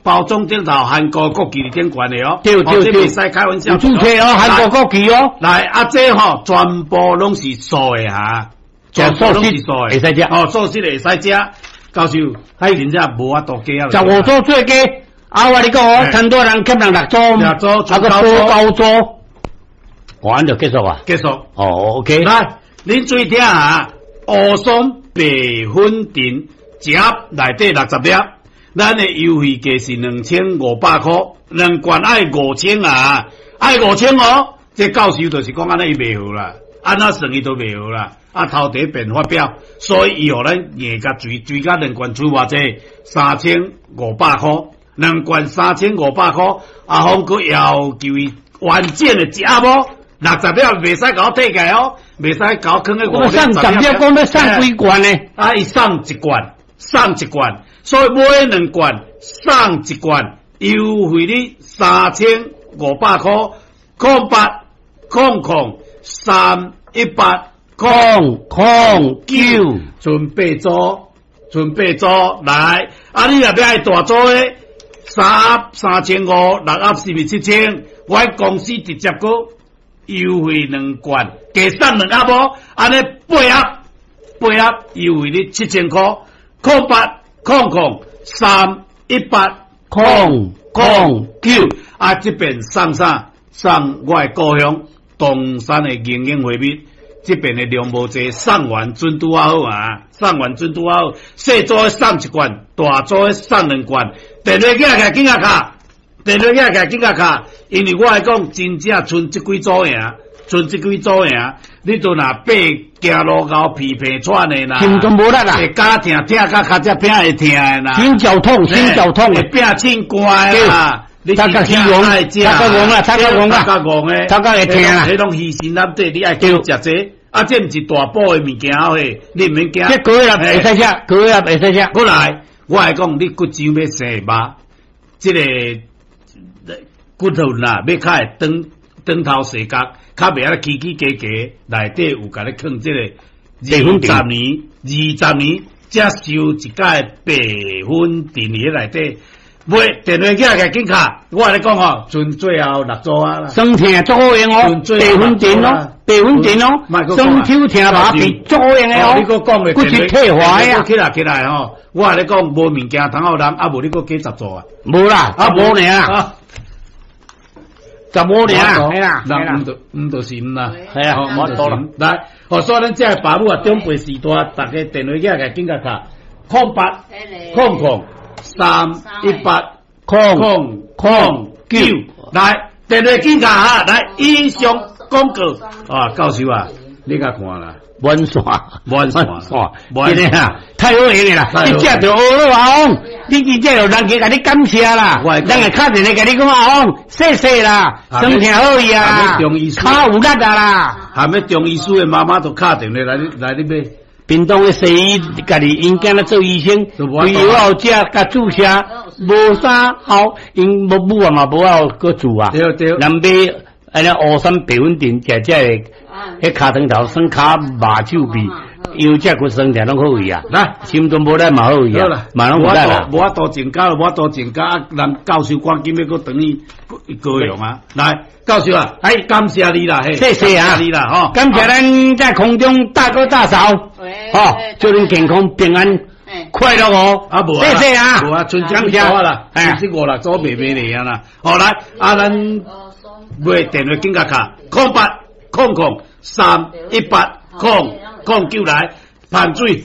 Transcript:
包裝頂頭韓國國旗佇頂懸的哦，這袂使開玩笑。有註冊哦，韓國國旗哦。來，啊，這吼全部攏是素的哈，全部攏是素的，會使食。哦，素食會使食。教授，真正無法度加啊。15組最低，啊，我你講哦，陳多人欠人六組，六組，啊，閣補九組，完就結束啊。結束。哦，OK。來，恁注意聽啊，烏松白粉腸一盒內底60粒。咱的優惠價是2500箍，兩罐愛五千啊，愛五千哦。這教授就是講按呢伊袂好啦，按怎算伊都袂好啦。啊，頭題變發表，所以伊予咱硬共追追甲兩罐出偌濟，三千五百箍，兩罐三千五百箍。阿峰閣要求伊完整的一盒哦，60粒袂使共我退起來哦，袂使共我囥咧五。我送十粒，講欲送幾罐呢？啊，伊送一罐，送一罐。所以買兩罐送一罐，優惠你3500箍，0800 000 318 009，剩八組，剩八組來。啊，你若欲愛大組的，三盒3500，六盒是毋是7000？我公司直接閣優惠兩罐，加送兩盒哦，按呢八盒，八盒優惠你7000箍，0800 318 009啊！這邊送啥？送我的故鄉東山的營養花蜜，這邊的量無濟，送完準拄仔好啊！送完準拄仔好，細組的送一罐，大組的送兩罐。電話寄來緊仔敲，電話寄來緊仔敲，因為我來講真正賰這幾組爾，賰這幾組爾，你都若爬行路𠢕疲疲喘的啦，心肝無力啦，會絞疼疼甲跤才拼會疼的啦，心絞痛，心絞痛，會拼凊肝的啦，頭殼虛戇啦，頭殼戇啦，頭殼戇啦，頭殼戇的，頭殼會疼啦，彼攏虛心納底，你愛食這，啊，這毋是大補的物件嘿，你毋免驚。這高壓會使食，高壓會使食。過來，我來講，你骨傷欲生肉，這个骨頭啦，欲較會長長頭細角，較袂按呢起起加加，內底有共你囥這個二十年，二十年才收一擺白粉腸佇內底。買電話寄來緊敲，我共你講吼，賰最後六組啊啦。酸疼足好用哦，白粉腸哦，白粉腸哦，酸手疼麻痹足好用的哦。你閣講的骨質退化啊。起來起來吼，我共你講無物件通予人，啊無你閣加十組啊？無啦，啊無爾啊。15爾啊，係啦，人毋毋就是毋啦，係啊，無多啦。來，哦，所以咱這个爸母啊，長輩時代，逐家電話寄來緊共敲，0800 318 009，來，電話緊敲哈，來，以上廣告啊，教授啊，你共看啦。滿線，滿線，真的啊，太好用的啦！你食著學了阿翁，你真正有人家共你感謝啦，人會敲電話共你講阿翁，謝謝啦，酸疼好伊啊，跤有力啊啦。含欲中醫師的媽媽都敲電話來來你買。屏東的西醫，家己𪜶囝咧做醫生，規藥後食共注射，無啥效，𪜶無母啊嘛無愛閣做啊。對對。人買按呢烏酸白粉腸，食食會，彼跤腸頭酸跤肉手臂，腰脊骨酸疼攏好去啊。來，心臟無力嘛好去啊，嘛攏有力啦。無法度增加，無法度增加，啊！人教授趕緊欲閣轉去高雄啊！來，教授啊，哎，感謝你啦，謝謝啊，你啦，吼，感謝咱在空中大哥大嫂，吼，祝恁健康平安快樂哦。啊，無謝謝啊，無啊，賰這幾組啦，賰這五六組袂袂爾啦。好來，啊，咱買電話緊共敲，0800 318 009來，盤水。